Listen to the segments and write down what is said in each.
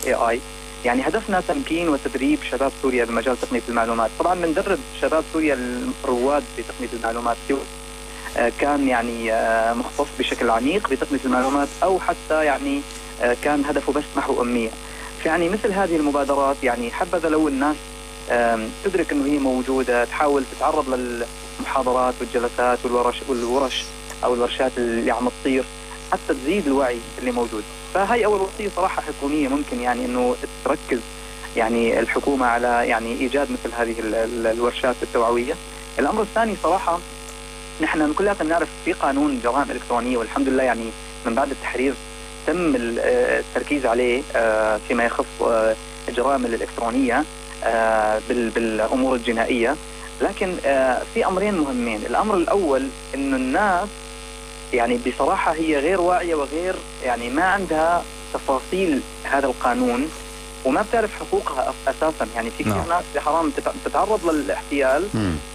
AI. يعني هدفنا تمكين وتدريب شباب سوريا بمجال تقنية المعلومات. طبعا بندرب شباب سوريا الرواد بتقنية المعلومات، كان يعني مختص بشكل عميق بتقنية المعلومات، أو حتى يعني كان هدفه بس محو أمية. فيعني مثل هذه المبادرات يعني حبذا لو الناس تدرك أنه هي موجودة، تحاول تتعرض للمحاضرات والجلسات والورش أو الورشات اللي عم تصير حتى تزيد الوعي اللي موجود. فهي أول وصية صراحة حكومية ممكن يعني أنه تركز يعني الحكومة على يعني إيجاد مثل هذه الورشات التوعوية. الأمر الثاني صراحة نحن كلنا نعرف في قانون جرائم إلكترونية، والحمد لله يعني من بعد التحرير تم التركيز عليه فيما يخص الجرائم الإلكترونية بالأمور الجنائية. لكن في أمرين مهمين. الأمر الأول إنه الناس يعني بصراحة هي غير واعية وغير يعني ما عندها تفاصيل هذا القانون وما بتعرف حقوقها أساسا. يعني في كثير ناس بحرام تتعرض للاحتيال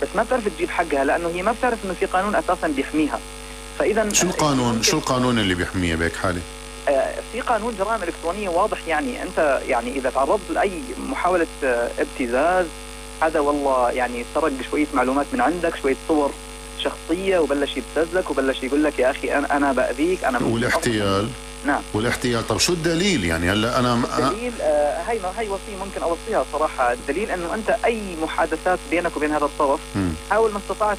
بس ما بتعرف تجيب حقها لأنه هي ما بتعرف إنه في قانون أساسا بيحميها. فإذا شو القانون اللي بيحميها بهيك حالة؟ في قانون جرائم إلكترونية واضح. يعني أنت يعني إذا تعرضت لأي محاولة ابتزاز، هذا والله يعني سرق شوية معلومات من عندك، شوية صور شخصية وبلش يبتزك وبلش يقول لك يا أخي أنا بأذيك أنا. والاحتيال. نعم. والاحتيال. طب شو الدليل يعني هلا أنا الدليل هاي وصية ممكن أوصيها صراحة. الدليل أنه أنت أي محادثات بينك وبين هذا الطرف حاول ما استطعت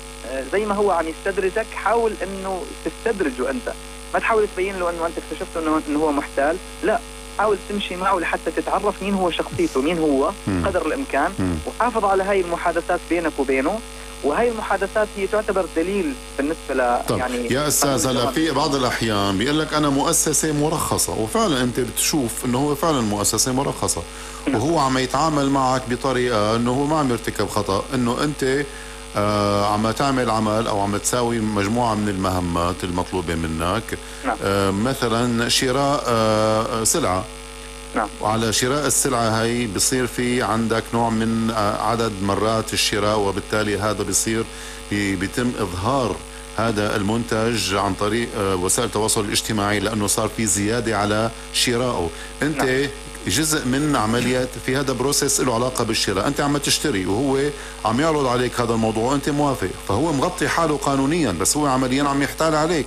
زي ما هو عم يستدرجك حاول أنه تستدرجه أنت. ما تحاول تبين له أنه أنت اكتشفت أنه هو محتال، لا، حاول تمشي معه لحتى تتعرف مين هو شخصيته، مين هو قدر الإمكان، وحافظ على هاي المحادثات بينك وبينه. وهي المحادثات هي تعتبر دليل بالنسبة ل يعني يا أستاذ. هلا في بعض الأحيان بيقول لك أنا مؤسسة مرخصة، وفعلا أنت بتشوف أنه هو فعلا مؤسسة مرخصة وهو عم يتعامل معك بطريقة أنه هو ما عم يرتكب خطأ، أنه أنت عم تعمل عمل أو عم تساوي مجموعة من المهمات المطلوبة منك. مثلا شراء سلعة. نعم. وعلى شراء السلعة هاي بصير في عندك نوع من عدد مرات الشراء، وبالتالي هذا بيتم إظهار هذا المنتج عن طريق وسائل التواصل الاجتماعي لأنه صار في زيادة على شرائه. أنت نعم. جزء من عملية في هذا بروسيس له علاقة بالشراء، أنت عم تشتري وهو عم يعرض عليك هذا الموضوع وأنت موافق، فهو مغطي حاله قانونيا بس هو عمليا عم يحتال عليك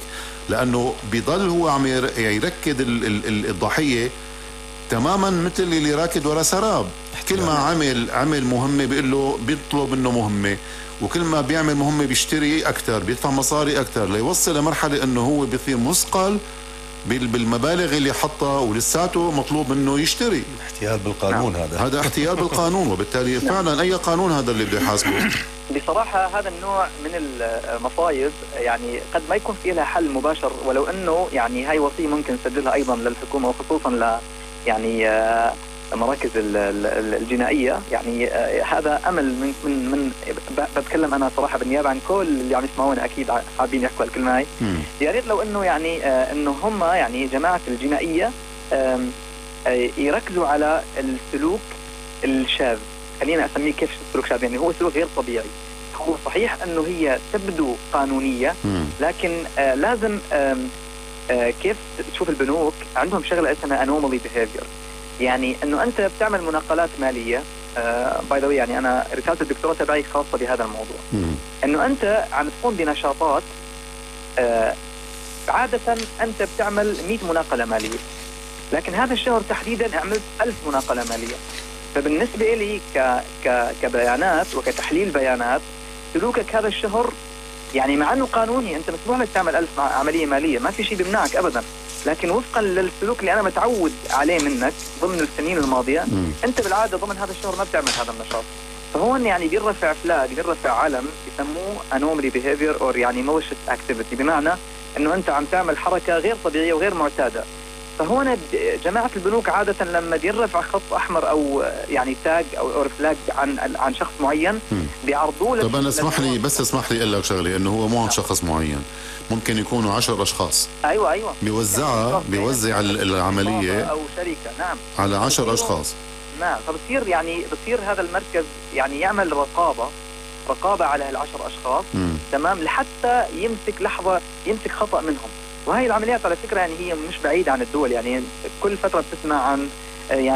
لأنه بيضل هو عم يركد الضحية تماما مثل اللي راكد ورا سراب. كل ما عمل مهمة بيقول له بيطلب منه مهمة، وكل ما بيعمل مهمة بيشتري أكثر، بيدفع مصاري أكثر ليوصل لمرحلة أنه هو بيصير مثقل بالمبالغ اللي حطها ولساته مطلوب منه يشتري. احتيال بالقانون. هذا احتيال بالقانون، وبالتالي فعلا أي قانون هذا اللي بده يحاسبه. بصراحة هذا النوع من المصايب يعني قد ما يكون فيه لها حل مباشر، ولو أنه يعني هاي وصية ممكن نسجلها أيضا للحكومة وخصوصا يعني مراكز الجنائية. يعني هذا أمل من بتكلم أنا صراحة بالنيابة عن كل اللي عم يسمعونا أكيد حابين يحكوا الكلمة هاي. يا ريت لو إنه يعني إنه هم يعني جماعة الجنائية يركزوا على السلوك الشاذ. خلينا أسميه كيف السلوك شاذ، يعني هو سلوك غير طبيعي. هو صحيح إنه هي تبدو قانونية لكن لازم كيف تشوف البنوك عندهم شغلة اسمها anomaly behavior. يعني انه انت بتعمل مناقلات مالية باي ذا واي. يعني انا رسالة الدكتوراه تبعي خاصة بهذا الموضوع. انه انت عم تقوم بنشاطات عادة انت بتعمل 100 مناقلة مالية، لكن هذا الشهر تحديدا عملت 1000 مناقلة مالية. فبالنسبة لي كبيانات وكتحليل بيانات، سلوكك هذا الشهر يعني مع انه قانوني انت مسموح لك تعمل 1000 عملية مالية، ما في شيء بيمنعك ابدا، لكن وفقا للسلوك اللي انا متعود عليه منك ضمن السنين الماضية انت بالعادة ضمن هذا الشهر ما بتعمل هذا النشاط. فهون يعني بيرفع فلاج، بيرفع علم يسموه anomaly behavior or يعني malicious activity، بمعنى انه انت عم تعمل حركة غير طبيعية وغير معتادة. فهون جماعة البنوك عادة لما بيرفع خط أحمر أو يعني تاج أو فلاج عن شخص معين بيعرضوه. طب أنا اسمح لي أقول لك شغلة، إنه هو مو عن شخص معين، ممكن يكونوا 10 أشخاص. أيوة بيوزع العملية أو شركة. نعم. على 10 أشخاص. نعم. فبصير هذا المركز يعني يعمل رقابة على هال10 أشخاص. تمام. لحتى يمسك خطأ منهم. وهي العمليات على فكرة يعني هي مش بعيدة عن الدول. يعني كل فترة بتسمع عن يعني